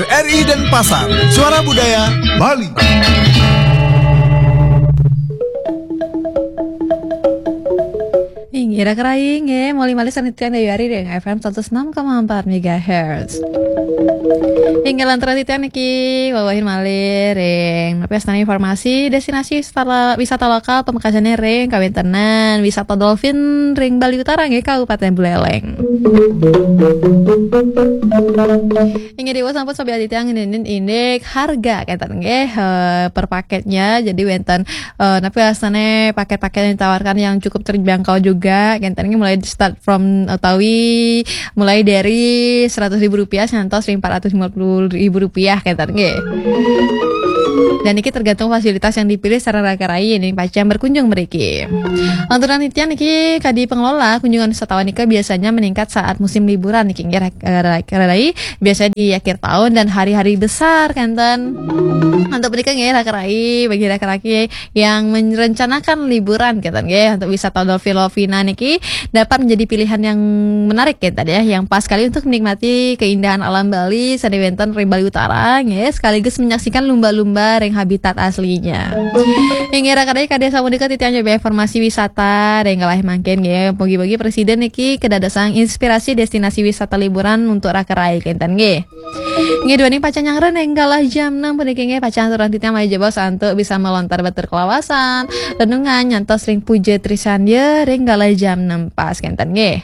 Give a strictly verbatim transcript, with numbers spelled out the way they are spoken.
R I Denpasar, Suara Budaya Bali. Inggih, raka rai, inggih, malih-malih sareng titiang Dayu Ari ring F M seratus enam koma empat megahertz. Inggih, lantaran titiang niki wawahin malih ring napi wastané informasi destinasi wisata, wisata lokal pamekasané ring kawéntenan wisata dolphin ring Bali Utara, nggih, Kabupatén Buleleng. Inggih, déwa sampun sobi titiang nindin indik harga kénten nggih, eh, per paketnya. Jadi wénten, eh, napi wastané paket-paket yang ditawarkan yang cukup terjangkau juga kénten nggih, mulai start from utawi mulai dari seratus ribu rupiah ngantos ring empat ratus lima puluh ribu rupiah kénten nggih. Dan niki tergantung fasilitas yang dipilih sareng raka rai ini pacang berkunjung mriki. Lantaran titiang niki kadi pengelola kunjungan wisatawan nika biasanya meningkat saat musim liburan niki nggih, raka rai. Biasanya di akhir tahun dan hari-hari besar kénten. Untuk menikah nggih, raka rai, bagi raka rai yang merencanakan liburan kénten nggih, untuk wisata dolphin dolphina niki dapat menjadi pilihan yang menarik kénten ya, yang pas sekali untuk menikmati keindahan alam Bali sané wénten ring Bali Utara nggih, sekaligus menyaksikan lumba-lumba ring habitat aslinya. Inggih, raka rai, kadi sapunika titiang nyobi informasi wisata ring galah mangkin nggih. Mugi-mugi presiden niki kedadosan inspirasi destinasi wisata liburan untuk raka rai kénten nggih. Nggih, duaning pacang nyanggra ring galah jam enam puniki nggih, pacang aturang titiang malih jebos antuk bisa melontar batur kalawasan, renungan nyantos ring puja trisandya ring galah jam enam pas kénten nggih.